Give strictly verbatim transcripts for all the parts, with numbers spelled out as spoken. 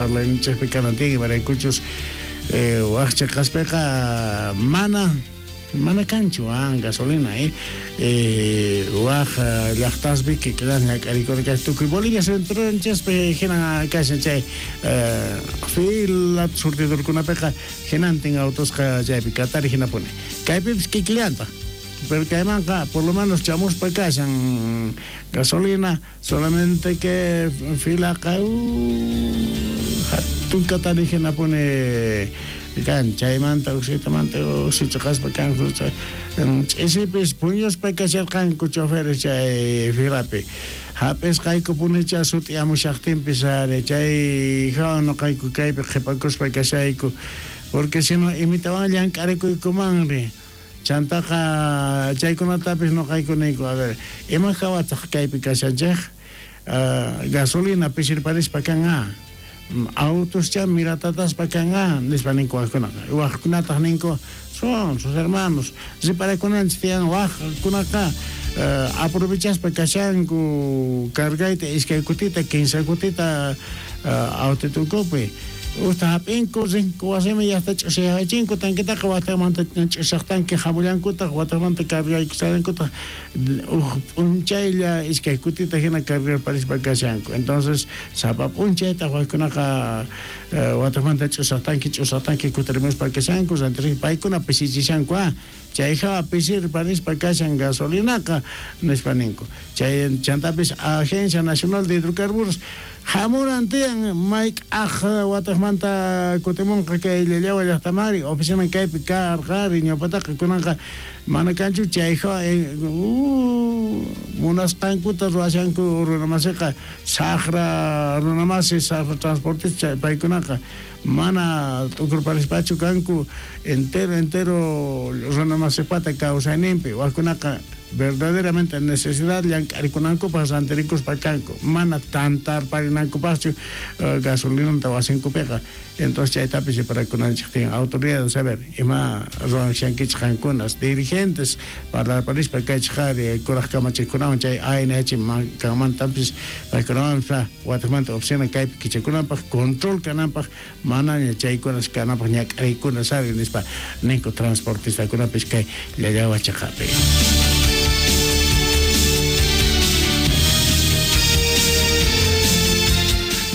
Parlayninchikpi kanan tiyan, imaraykuchus waj chiqaspiqa mana mana kanchu gasolina, eh waj llaqtaspi kikillan ñak'arikuna kashan tukuy Bolivia centronchispi hina kashan chay fila surtidorkunapiqa hinantin autosqa chaypi katari hinapuni kaypipis kikillantaq. Pero kaymanqa por lo menos chamuspa kashan gasolina, solamente que filaqa hatun katari hinapuni kan chaymanta uksitamanta uksichaqaspa kan ch'isipis puñuspa kasharqanku choferes chay filapi hap'isqaykupunicha sut'iyamushaqtinpis ari chay hawan noqayku kaypi qhipakuspa kashayku porque sino imitawan llank'arikuykumanri chantaqa chaykunatapis noqayku niyku a ver ima hawataq kaypi kashanchej gasolina pisirparispa kan a autos cha miratataspa kan a nispa ninku wajkunaqa wajkunataq ninku son sus hermanos riparakunanchik tiyan wajkunaqa aprovechaspa kashanku cargayta iskay kutita kinsa kutita autotukupi usta hap'inku rinku wasiman llaqta ch'usayachinku tankitaqa watamanta ch'usaqtanki hamullankutaq watamanta cargaykusallankutaq uj p'unchaylla iskay kutita hina cargarparispa kashanku entonces sapa p'unchaytaq wajkunaqa watamanta ch'usaqtanki ch'usaqtanki kutirimuspa kashanku rantirin paykuna pisichishanku ah chay hawa pisirparispa kashan gasolinaqa nispa ninku chay chantapis Agencia Nacional de Hidrocarburos hamuran tiyan mayk'aj wataqmanta kutimunqa kay Llallawa llaqtamari oficina kaypi karqari ñawpataqa kunanqa mana kanchu chay hawa munasqankuta ruwashanku runamasiqa saqra runamasi saqra transportista paykunaqa mana t'ukurparispachu kanku entero entero runamasipata kawsayninpi wajkunaqa verdaderamente necesidad llank'arikunankupaq rantirikuspa kanku mana tantarparinankupaqchu gasolinanta wasinkupiqa entonces chaytapis riparakunanchik tiyan autoridades saber ima ruwanshankichik qankunas dirigentes parlarparispa kaychik ari kuraq kamachikunawan chay A N H kanmantapis paykunawan wataqmanta oficina kaypi kichakunanpaq control kananpaq manaña chaykunas kananpaq ñak'arikunas ari nispa ninku transportistakunapis kay Llallawa chiqapi.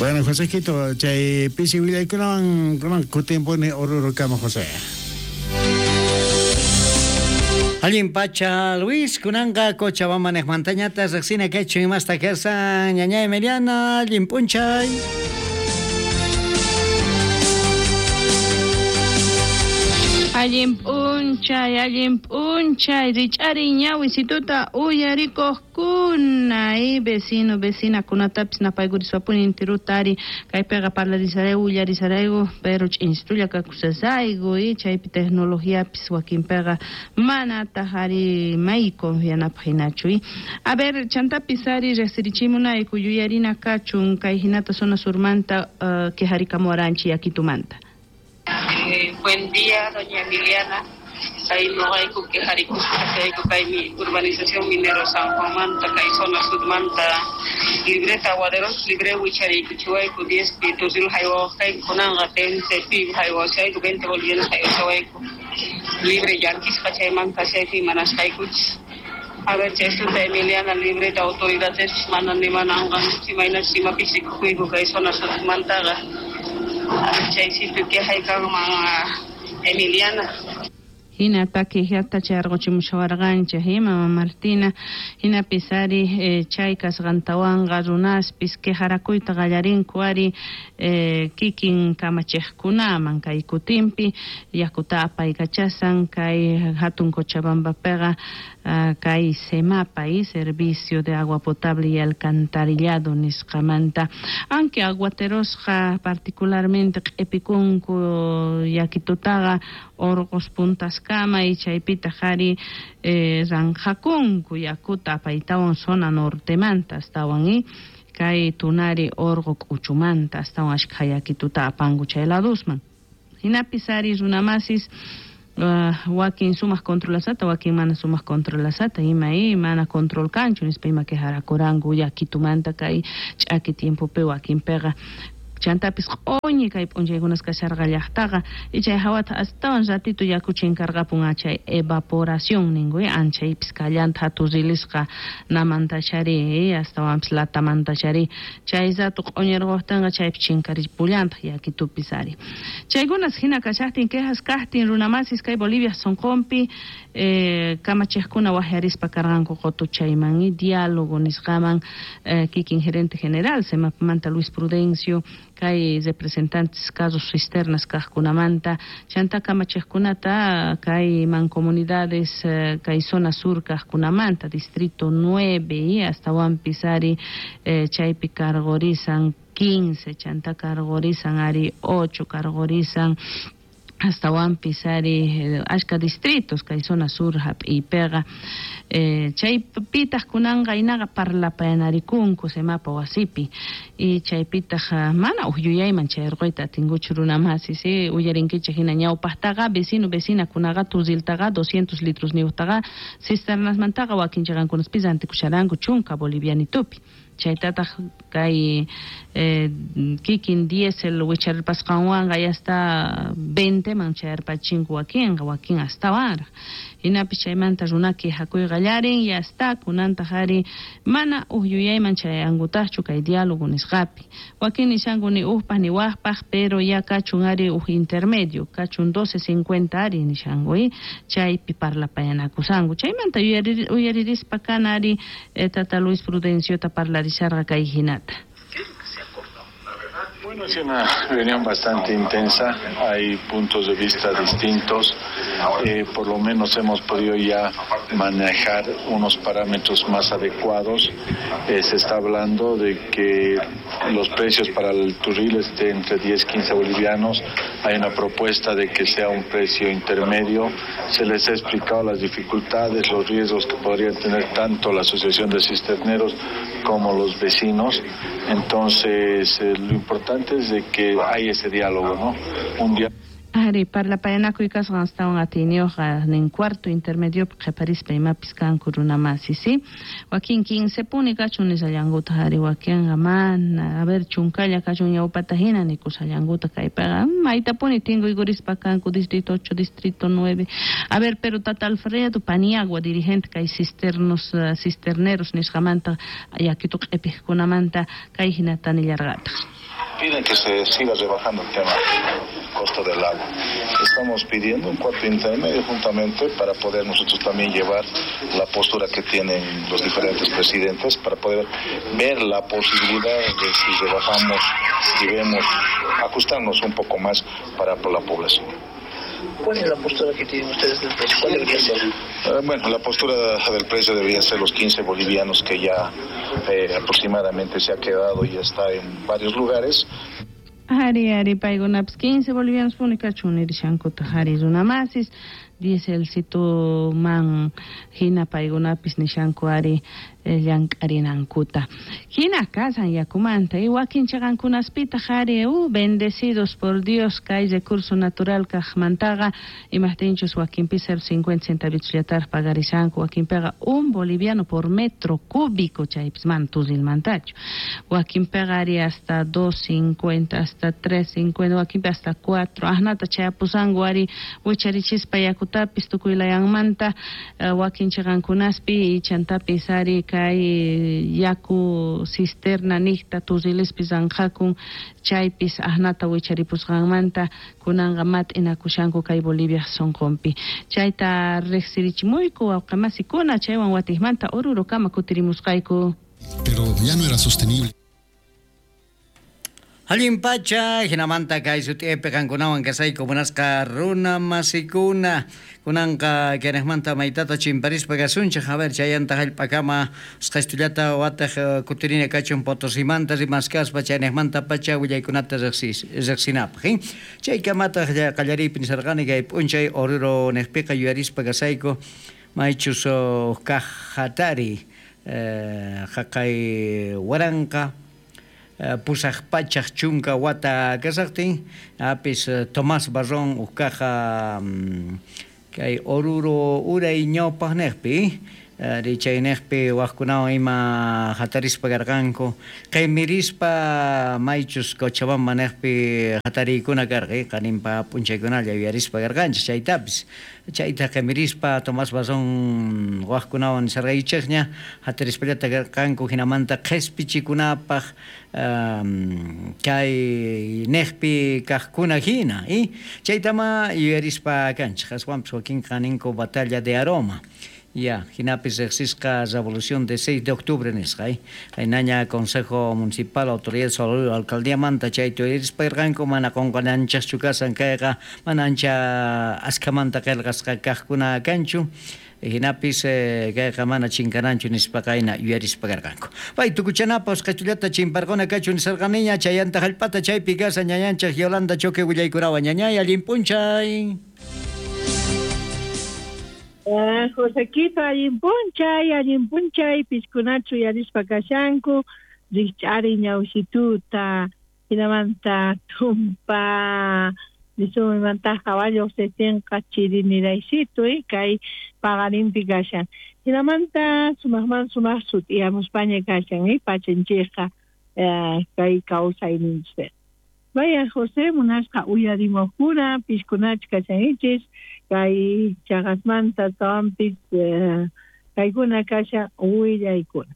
Bueno, José Quito, chay pisi willaykunawan kunan kutimpuni Oruro kama José. Allin pacha Luis, kunanqa Cochabamba niqmantañata riqsina kaychu imasta karsan ñañay Emiliana, allin p'unchay. Allin p'unchay, allin p'unchay, rich'ari ñawisituta uyarikuqkuna, y vecino, vecina, kunatapis napaykuriswapuni intirutari, kaypiqa parlarisarayku, willarisarayku, pero ch'insitulla kakusasayku, y chaypi tecnologiapis wakinpiqa manataq ari may confianapaq hinachu, y a ver, chantapis ari riqsirichimunayku yuyarina kachun kay hinata zona surmanta uh, quejarikamuwaranchik yakitumanta. Eh, buen día, doña Emiliana. Kay noqayku quejarikuspa kashayku kay urbanización Minero San Juanmanta, kay zona surmanta, libreta aguaderos, libre wichariykuchiwayku, diez pi turril haywawaqkayku, kunanqa quince pi haywawashayku, veinte bolivianos haywashawayku. Libre llakisqa chaymanta kashayku imanasqaykuchis. A ver, chaystuta Emiliana, libreta autoridades mana nimananqa, imaynachus imapis rikukuyku kay zona surmantaqa. Chaysito quejaykanman Emiliana. Hinata quejata charqochimushawarqanchik mama Martina hinapis ari eh, chay kasqantawanqa runaspis quejarakuyta qallarinku ari eh, kikin kamachiqkunaman kay kutinpi yakuta apaykachasan kay hatun Cochabambapiqa uh, kay SEMAPA y Servicio de Agua Potable y Alcantarillado nisqamanta aunque aguaterosqa particularmente q'ipikunku yakitutaqa orqos puntas kama y chaypitaq ari eh, ranqakunku yakuta apaytawan zona nortemanta astawan y kay tunari orqo k'uchumanta astawan ashkha yakituta apanku chay ladusman hinapis ari runamasis Uh, wakin sumaq controlasata wakin mana sumaq controlasata ima y mana control kanchu nispa ima quejarakuranku yakitumanta kay ch'aki tiempopi wakinpiqa Chantapis q'uñi kay p'unchaykunas kasharqa llaqtaqa y chay hawata astawan ratito yaku chinkarqapun chay evaporación ninku anchaypis kallanta turrilisqa namantachari astawanpis latamantachari chay rato q'uñirquqtinqa chaypi chinkaripullantaj yakitupis ari. Chaykunas hina kashaqtin quejas kaqtin runamasis kay Bolivia sonqonpi eh, kamachiqkuna waqyarispa karqanku qutuchayman y diálogo nisqaman eh, kikin gerente general Semapmanta Luis Prudencio kay representantes carros cisternas kaqkunamanta chanta kamachiqkunata kay mancomunidades eh, kay zona sur kaqkunamanta distrito nueve y astawanpis ari eh, chaypi cargorizan quince chanta cargorizan ari ocho cargorizan astawanpis ari ashka distritos kay zona sur hap'iypiqa eh, chaypitaq kunanqa inaqa parlapayanarikunku Semapa wasipi y chaypitaq mana uj yuyayman chayarquyta atinkuchu runamasi si uyarinkichik hina ñawpaqtaqa vecino vecinakunaqa turriltaqa doscientos litros niwtaqa cisternasmantaqa wakin chiqankunaspis rantikusharanku chunka bolivianitupi chaytataq kay eh, kikin diésel wicharpasqanwanqa ya hasta veinte man chayarpachinku wakinqa wakin astawanraq hinapis chaymanta runa quejakuy qallarin ya hasta kunantaq ari mana uj yuyayman chayankutaqchu kay diálogo nisqapi wakin nishanku ni ujpaq ni wajpaq pero ya kachun ari uj intermedio kachun doce cincuenta ari nishanku y chaypi parlapayanakusanku chaymanta uyaririspa kana ari eh, tata Luis Prudenciota parlarisharqa kay hinata. Bueno, es una reunión bastante intensa, hay puntos de vista distintos, eh, por lo menos hemos podido ya manejar unos parámetros más adecuados. Eh, se está hablando de que los precios para el turril estén entre diez y quince bolivianos, hay una propuesta de que sea un precio intermedio, se les ha explicado las dificultades, los riesgos que podrían tener tanto la Asociación de Cisterneros como los vecinos. Entonces, eh, lo importante es de que hay ese diálogo, ¿no? Un diálogo. Ari parlapayanakuy kasqan astawan atiyniyuqqa nin cuarto intermedio qhiparispa imapis kanku runamasi si wakin quince puni kachun nishallankuta ari wakinqa mana a ver chunkalla kachun ñawpata hina nikushallankuta kaypiqa maytapuni tinkuykurispa kanku distrito ocho distrito nueve a ver pero tata Alfredo Paniagua dirigente kay cisternos uh, cisterneros nisqamanta yakitu q'ipiqkunamanta kay hinata nillarqataq. Piden que se siga rebajando el tema costo del agua. Estamos pidiendo un cuarto intermedio juntamente para poder nosotros también llevar la postura que tienen los diferentes presidentes para poder ver la posibilidad de si rebajamos y vemos ajustarnos un poco más para la población. ¿Cuál es la postura que tienen ustedes del precio? ¿Cuál debería ser? Eh, bueno, la postura del precio debería ser los quince bolivianos que ya eh, aproximadamente se ha quedado y está en varios lugares. Ari, ari, paykunapis quince bolivianos puni kachun nirishankuta ari runamasis dieselcito man hina paykunapis nishanku ari llank'arinankuta hina kasan yakumanta y wakin chaqankunaspitaq ari uh, bendecidos por Dios kay recurso natural kaqmantaqa imaqtinchus wakinpi cero cincuenta centavitos pagarishanku wakinpiqa un boliviano por metro cúbico chaypis mana turrilmantachu wakinpiqa ari hasta dos cincuenta hasta tres cincuenta wakinpi hasta cuatro asnata chayapusanku ari wicharichispa yakutapis tukuylayanmanta uh, wakin chaqankunaspi y chantapis ari kay yaku cisterna niqta turrilispis anqakun chaypis asnata wicharipusqanmanta kunanqa mat'inakushanku kay Bolivia sonqonpi chayta riqsirichimuyku wawqamasikuna chaywan watiqmanta Orurokama kutirimusqayku. Pero ya no era sostenible. Allin pacha, hinamanta kay sut'ipi qankunawan kasayku munasqa runa masikuna kunanqa kayniqmanta maytata chimparispa kasunchik a ver chayanta hallp'akama usqhaystullata wataq kutirina kachun Potosimanta rimaskaspa chayniqmanta pacha willaykunata riqsinapaq eh? Chaykamataq qallariypi nisarqani kay p'unchay Oruro niqpiqa yuyarispa kasayku maychus kaq hatari eh, haqay waranqa pusaq pachaq chunka wata kasaqtin apis Tomás Barrón uqkaqa kay Oruro uray ñawpaqniqpi Chaynejpi wajkunawan ima hatarispa karqanku qimirispa maychus Cochabamba nejpi hatariykuna karqa qaninpa p'unchaykunalla yuyarispa karqanchis chaytapis chayta qimirispa Tomás Bazón wajkunawan nisarqaychikña hatarispallata karqanku hinamanta qhispichikunapaq um, kay nejpi kaqkuna hina y chaytama yuyarispa kanchik aswanpis wakinqa ninku batalla de Aroma. Ya, hinapis riqsisqa Revolución de seis de octubre nisqa, eh? Qaynaña Consejo Municipal, Autoridad Salud, Alcaldía manta chayta yuyarispa irqanku mana qunqananchikchu kasan kayqa mana ancha askhamanta qillqasqa kaqkuna kanchu. Hinapis eh, kayqa mana chinkananchu nispa qayna yuyarispa karqanku. Pay tukuchanapaq usqhaychullata chimparquna kachu nisarqaniña chayanta hallp'ata chaypi kasa ñañanchik Yolanda Choque willaykunawan ñañay allin p'unchay. Uh, Josequito, allin p'unchay, allin p'unchay, piskunachu yuyarispa kashanku, rikch'ari ñawsituta, hinamanta tumpa, nisumanta caballo setenqa chiriniraysitu, eh, kay paqarinpi kashan. Hinamanta sumaqman sumaq sut'iyamuspaña kashan, eh, pachanchikqa eh, kay kawsayninchik. Vaya José, munasqa uyarimuqkuna, piskunachu kashanchis, kay chaqasmanta tawanpis eh, kaykuna kashan willaykuna.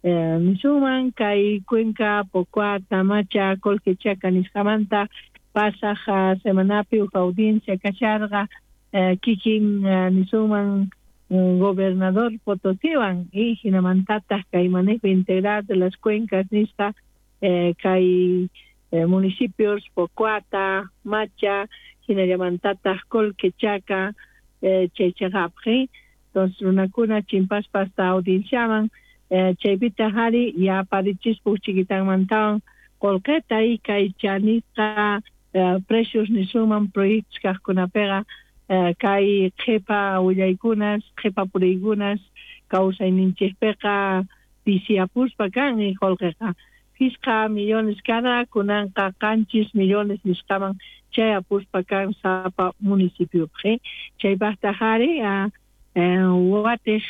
Eh, nisuman kay Cuenca, Pocoata, Macha, Colquechaca nisqamanta pasaq uh, semanapi huk audiencia kasharqa eh, kikin uh, nisuman uh, gobernador Potosiwan y hinamantataq kay manejo integral de las cuencas nisqa eh, kay eh, municipios Pocoata, Macha, hinallamantataq Colquechaca, eh, chaychaqapqi. Entonces runakuna chimpaspa hasta audienciaman eh, chaypitaq ari yaparichispa huk chikitanmantawan qullqita y kay chanisqa eh, precios nisuman proyectos kaqkunapiqa eh, kay qhipa willaykunas, qhipa puriykunas kawsayninchikpiqa pisiyapuspa kan y qullqiqa pishqa millones cada kunanqa qanchis millones nisqaman chayapuspa kan sapa municipiopi. Chaypaqtaq ari watiq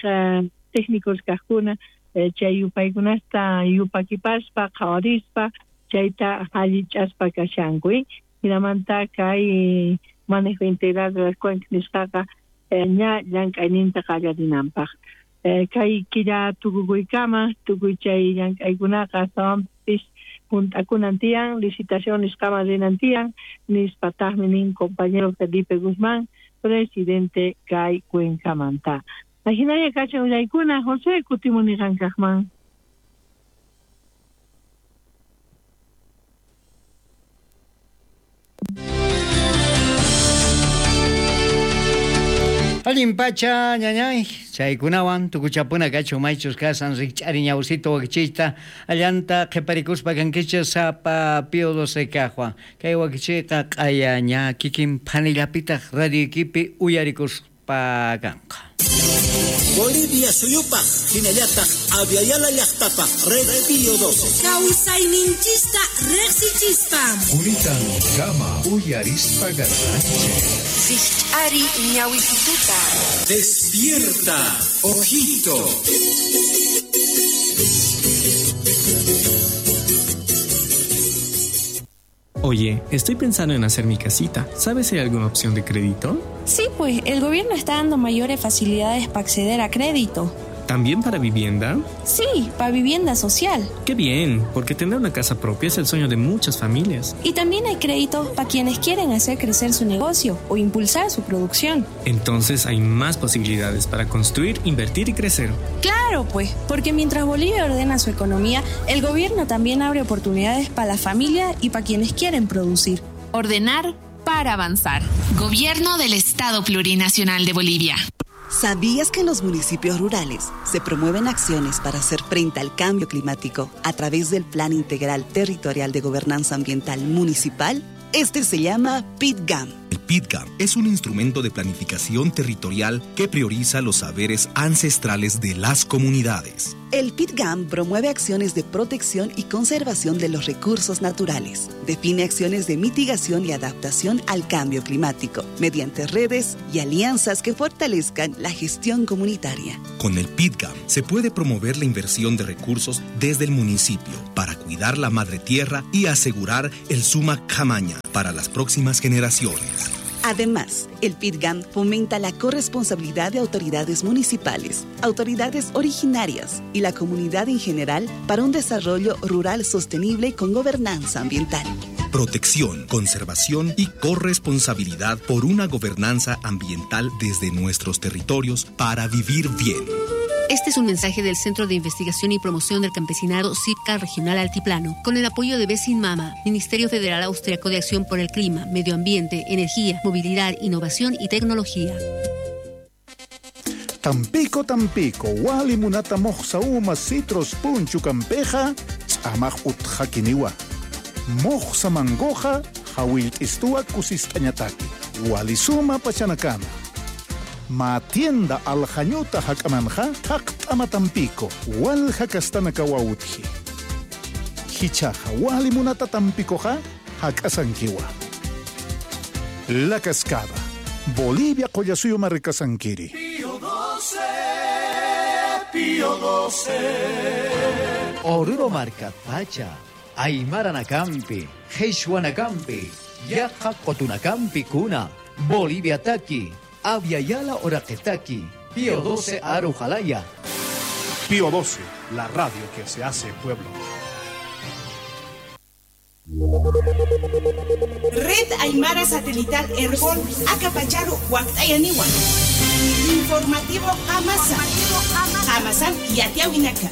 técnicos kaqkuna chay yupaykunasta yupakipaspa qhawarispa chayta allich'aspa kashanku. Hinamanta kay manejo integral de las cuencas nisqaqa ña llank'ayninta qallarinanpaq. Kay killa tukukuykama tukuy chay llank'aykunaqa astawanpis junt'akunan tiyan, licitación nisqaman rinan tiyan, nispataqmi nin compañero Felipe Guzmán, presidente kay cuencamanta. Ajinalla kashan willaykuna, José, kutimuni qankaqman. Allin pacha ñañay, chaykunawan tukuchapuna kachu maychus kasan rikch'ari ñawsito wakichiyta allanta qhiparikuspa kankichis sapa Pío doce kaqwan. Kay wakichiyqa q'aya ña kikin phanillapitaq radioykipi uyarikuspa kanqa. Bolivia suyupaq hinallataq Aviala llaqtapaq Red Pío doce. Kawsayninchista riqsichispa. Quritan kama uyarispa garranchik. Rikch'ari ñawisituta. Despierta, ojito. Oye, estoy pensando en hacer mi casita. ¿Sabes si hay alguna opción de crédito? Sí, pues el gobierno está dando mayores facilidades para acceder a crédito. ¿También para vivienda? Sí, para vivienda social. ¡Qué bien! Porque tener una casa propia es el sueño de muchas familias. Y también hay créditos para quienes quieren hacer crecer su negocio o impulsar su producción. Entonces hay más posibilidades para construir, invertir y crecer. Claro, pues, porque mientras Bolivia ordena su economía, el gobierno también abre oportunidades para la familia y para quienes quieren producir. Ordenar para avanzar. Gobierno del Estado Plurinacional de Bolivia. ¿Sabías que en los municipios rurales se promueven acciones para hacer frente al cambio climático a través del Plan Integral Territorial de Gobernanza Ambiental Municipal? Este se llama PITGAM. El PITGAM es un instrumento de planificación territorial que prioriza los saberes ancestrales de las comunidades. El PITGAM promueve acciones de protección y conservación de los recursos naturales. Define acciones de mitigación y adaptación al cambio climático mediante redes y alianzas que fortalezcan la gestión comunitaria. Con el PITGAM se puede promover la inversión de recursos desde el municipio para cuidar la madre tierra y asegurar el Suma Camaña para las próximas generaciones. Además, el PITGAM fomenta la corresponsabilidad de autoridades municipales, autoridades originarias y la comunidad en general para un desarrollo rural sostenible con gobernanza ambiental. Protección, conservación y corresponsabilidad por una gobernanza ambiental desde nuestros territorios para vivir bien. Este es un mensaje del Centro de Investigación y Promoción del Campesinado CIPCA Regional Altiplano, con el apoyo de Besin Mama, Ministerio Federal Austriaco de Acción por el Clima, Medio Ambiente, Energía, Movilidad, Innovación y Tecnología. Tampico, Tampico, wali munata mojsa uma citros punchu campeja, amaj utjakiniwa. Mojsa mangoja, jawiltistua kusistañataki, walisuma pachanakama. Ma tienda aljañuta hakamanja, taqtama Tampico, walja kastana kawautji. Hichaja wali munata Tampicoja, hakasankiwa. La Cascada, Bolivia Collasuyo Marricasanquiri. Pío doce, Pío doce. Oruro Marca Pacha, Aymara Nakampi, Jesuanacampi, Yaja Cotunacampi Cuna, Bolivia Taki, Aviala Oraqetaki, Pío doce Arujalaya. Pío doce, la radio que se hace pueblo. Red Aymara Satelital Herbol, Acapacharu, Huactayaniwa. Informativo Amasa. Amasan y Atiawinaka.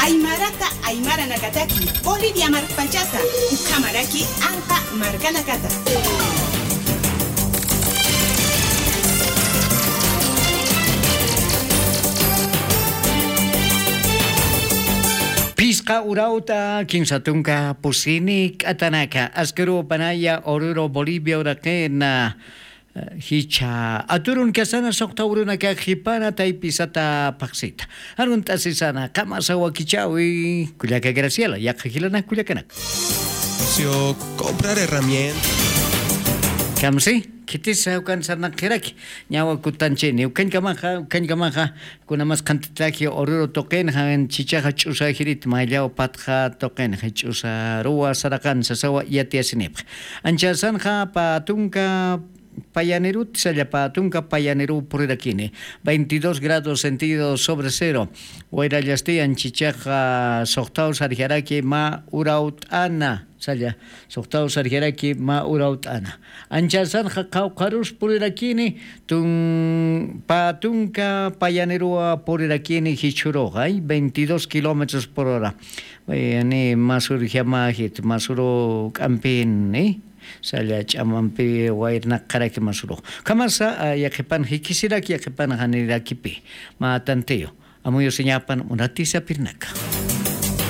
Aymarata Aymara Nakataki, Bolivia Marpachata, Ukamaraki, Anca Marcanacata. Pisqa urauta, kimsatunka, pusini, katanaka, askuru, panaya, oruro, Bolivia, uraqena, hicha, aturun kasana, soqta urunaka, jipana, taypisata, paqsita. Arun tasisana, kamasa wakichawi, kullaka Graciela, yaqa hilana, kullakanak. Comprar herramientas. Kamsi? Kitisa ukan sarnaqiraki ñawa kutanchini ukankamaja ukankamaja kunamas qantitaki oruro toqenja chichaja ch'usajirit mayllaw patja toqenja ch'usaruwa saraqan sasawa yatiasinipaq anchasanja patunka Payaneru, Sallapatunca, Payaneru, Purirakini, veintidós grados centígrados sobre cero. Huayrallastian, Chichaja, Sohtao, Sarjaraki, Ma, Urautana. Salla, Sohtao, Sarjaraki, Ma, Urautana. Anchasanja, Caucarus, Purirakini, Tun, Patunca, Payanerua, Purirakini, Hichuroja, veintidós kilómetros por hora. Ni Masur, Jamajit, Masuro, Campín, ¿eh? Salla ch'amanpi wayrnaqaraki masuro. Kamasa yaqipan hikisiraki yaqipan hanirakipi. Ma tanteo. Amuyo señapan unatisa pirnaka.